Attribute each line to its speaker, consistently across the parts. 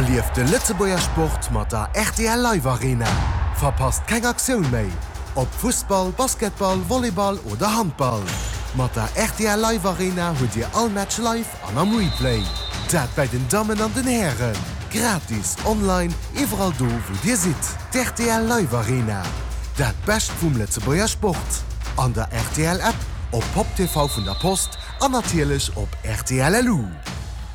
Speaker 1: Erlieft de Lëtzebuerger Sport mat der rtl Live Arena. Verpasst keng Aktioun méi, ob Fussball, Basketball, Volleyball oder Handball. Mat der rtl Live Arena hutt Dir all Match live an am Replay. Dat bäi den Dammen an den Hären. Gratis, online, iwwerall do wou Dir sidd. D'rtl Live Arena, dat Bescht vum Lëtzebuerger Sport. An der rtl App, op Pop TV vun der Post an natierlech op rtl LU.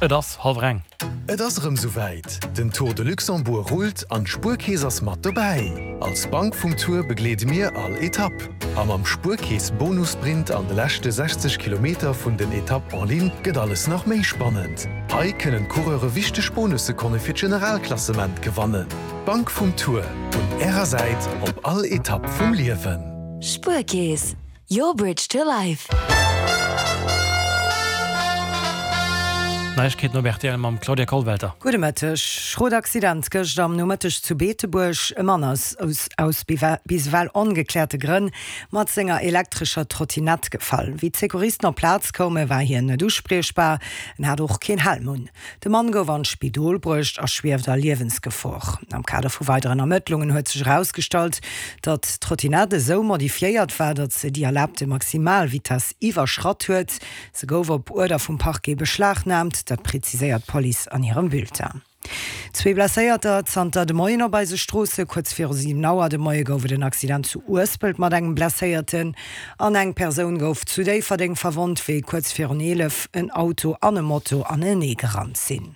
Speaker 2: Et ass hallwer eng.
Speaker 3: Et ass erëm souwäit, Den Tour de Luxembourg rullt an d'Spuerkeess ass mat dobäi! Als Bank vum Tour begleede mir all Etapp. A mam Spuerkeess Bonussprint an de leschte 60 Kilometer vun den Etapp en ligne gëtt alles nach méi spannend. Hei kënnen d'Coureure wichteg Bonussekonne fir d'Generalklassement gewannen. D'Bank vum Tour, un Ärer Säit op all Etapp vum Liewen.
Speaker 4: Spuerkeess, Your bridge to life.
Speaker 2: Neiegkeeten op rtl mam Claudia Kollwelter.
Speaker 5: Gudde Mëtteg. Schrot Accident gëscht am Nomëtteg zu Beetebuerg. E Mann ass aus bis ewell ongekläerte Grënn mat senger elektrescher Trottinett gefall. Wéi d'Secouristen op d'Plaz koume war hien net uspriechbar. En hat och keen Helm un. De Mann gouf an d'Spidol bruecht a schwieft a Liewensgefor. Am Kader vu weideren Ermëttlungen huet sech erausgestallt, datt d'Trottinett esou modifiéiert war, datt se déi erlaabte Maximalvitess iwwerschratt huet. Se gouf op Uerder vum Parquet beschlagnaamt, dat preziséiert d'Police an hirem Bulletin. Zwee Blesséierter zanter de Moien op eise Stroosse. Kuerz viru 7 Auer de Moie gouf et en Accident zu Uespelt mat engem Blesséierten. An eng Persoun gouf zu Déifferdeng verwonnt, wéi kuerz virun 11 en Auto an e Moto anenee gerannt sinn.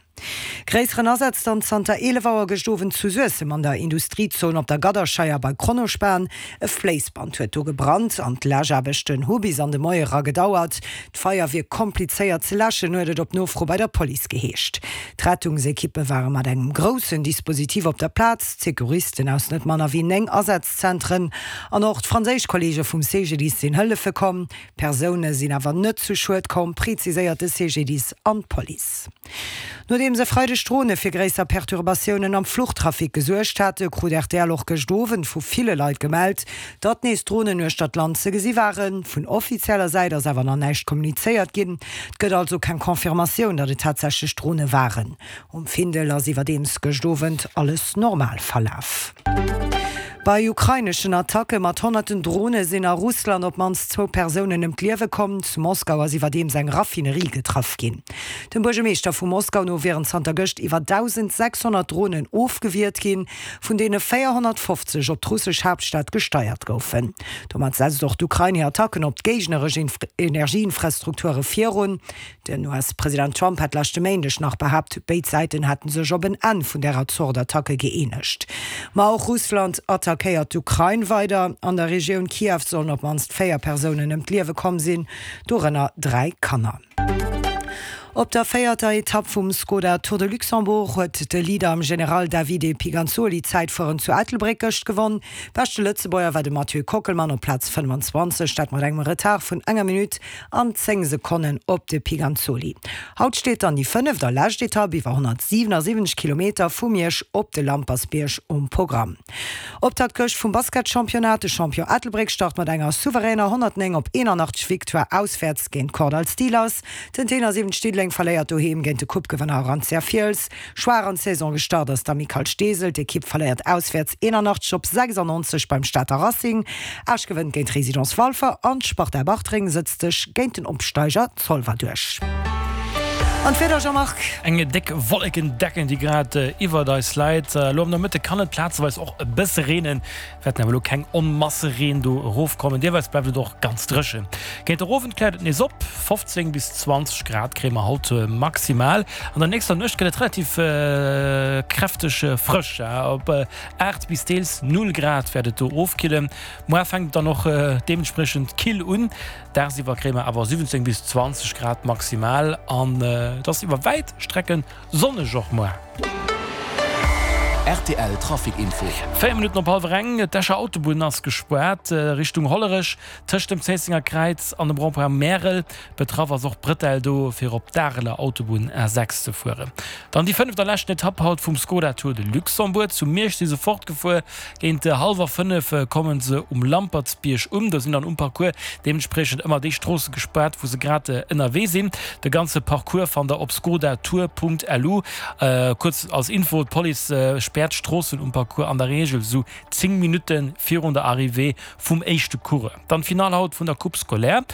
Speaker 5: Gréisseren Asaz dann zanter 11 Auer gëscht Owend zu Suessem an der Industriezon op der Gadderscheier bei Kronospan. E Fléissband huet do gebrannt an d'Läschaarbechten hu bis an de Moie era gedauert. D'Feier wier komplizéiert ze läschen, huet et op Nofro bei der Police geheescht. D'Rettungsekippe ware mat engem groussen Dispositif op der Plaz, d'Secouristen aus net manner wéi 9 Asätz Zentren an och d'franséisch Kolleege vum CGDIS sinn hëllefe komm. Persoune sinn awer net zu Schued komm, preziséiert de CGDIS an d'Police. Nodeems e Freideg Drone fir gréisser Perturbatiounen am Fluchtrafic gesuergt hate, krut rtl och gëscht Owend vu ville Leit gemellt, datt nees Dronen uechter d'Land ze gesi waren. Vun offizieller Säit ass awer nach näischt kommunizéiert ginn. Et gëtt also keng Confirmatioun, datt et tatsächlech Drone waren. Um Findel ass iwwerdeems gëscht Owend alles normal verlaf. Bei ukraineschen Attacke mat honnerten Drone sinn a Russland op d'mannst zwou Persounen ëm d'Liewe komm. Zu Moskau ass iwwerdeems eng Raffinerie getraff ginn. Dem Buergermeeschter vu Moskau no wieren zanter gëscht iwwer 1.600 Dronen ofgewiert ginn, vun deene 450 op d'russesch Haaptstad gesteiert goufen. Domat setzt och d'Ukrain hir Attacken op d'géigneresch Energieinfrastrukture virun. Den US-President Trump hat leschte Méindeg nach behaapt, béid Säiten hätte sech op en Enn vun därer Zort Attacke gëeenegt. Ma och Russland attackéiert d'Ukrain weider. An der Regioun Kiew sollen op d'mannst 4 Persounen ëm d'Liewe komm sinn, dorënner 3 Kanner. Op der véierter Etapp vum Skoda Tour de Luxembourg huet de Leader am General Davide Piganzoli d'Zäitfueren zu Ettelbréck gëscht gewonn. Beschte Lëtzebuerger war de Mathieu Kockelmann op Plaz 25, dat mat engem Retard vun enger Minutt an 10 Sekonnen op de Piganzoli. Haut steet dann déi fënneft a lescht Etapp iwwer 177 Kilometer vu Miersch op de Lampersbierg um Programm. Optakt gëscht vum Basketchampionnat, De Champion Ettelbréck start mat enger souveräner 109 op 81 Victoire auswäerts géint d'Kordall Steelers. Den Tenor 7 Diddeleng verléiert doheem géint de Coupe-Gewënner Arantia Fiels. Schwaach an d'Saison gestart ass d'Amicale Steesel. D'Ekipp verléiert auswäerts 81 op 96 beim Stater Racing. Esch gewënnt géint Résidence Walfer an d'Sparta Bartreng sëtzt sech géint den Opsteiger Zolwer duerch. An d'Wieder, Jean-Marc?
Speaker 2: Eng déck Wollekendecken, déi grad iwwert eis läit. Elo am Nomëtte kann et plazeweis och e bësse reenen. Wäerten awer elo keng Onmasse Reen do erofkommen, deelweis bleift et och ganz dréchen. Géint der Owend kläert et nees op, 15 bis 20 Grad kréie mer haut maximal. An der nächster Nuecht gëtt et relativ kräfteg frësch, op 8 bis deels 0 Grad wäert et do ofkillen. Muar fänkt et dann och deementspriechend kill un, dagsiwwer kréie mer awer 17 bis 20 Grad maximal an et ass iwwer wäit Strecken Sonneg och muer.
Speaker 6: Rtl Trafic Info.
Speaker 2: 4 Minutten op hallwer eng, D'Escher Autobunn ass gespaart Richtung Hollerech tëscht dem Zéissenger Kräiz an dem Rond-point Märel. Betraff ass och d'Bretelle do fir op d'Areler Autobunn A6 ze fueren. Dann déi fënneft a leschten Etapp haut vum Skoda Tour de Luxembourg. Zu Miersch si se fortgefuer. Géint hallwer 5 komme se um Lampertsbierg un. Do sinn dann um Parcours deementspriechend ëmmer déi Stroosse gespaart, wou se grad ënnerwee sinn. De ganze Parcours fannt der op skodatour.lu. Kuerz als Info, D'Police späert d'Stroossen um Parcours an der Reegel esou 10 Minutte virun der Arrivée vum éischte Coureur. Dann d'Finall haut vun der Coupe scolaire.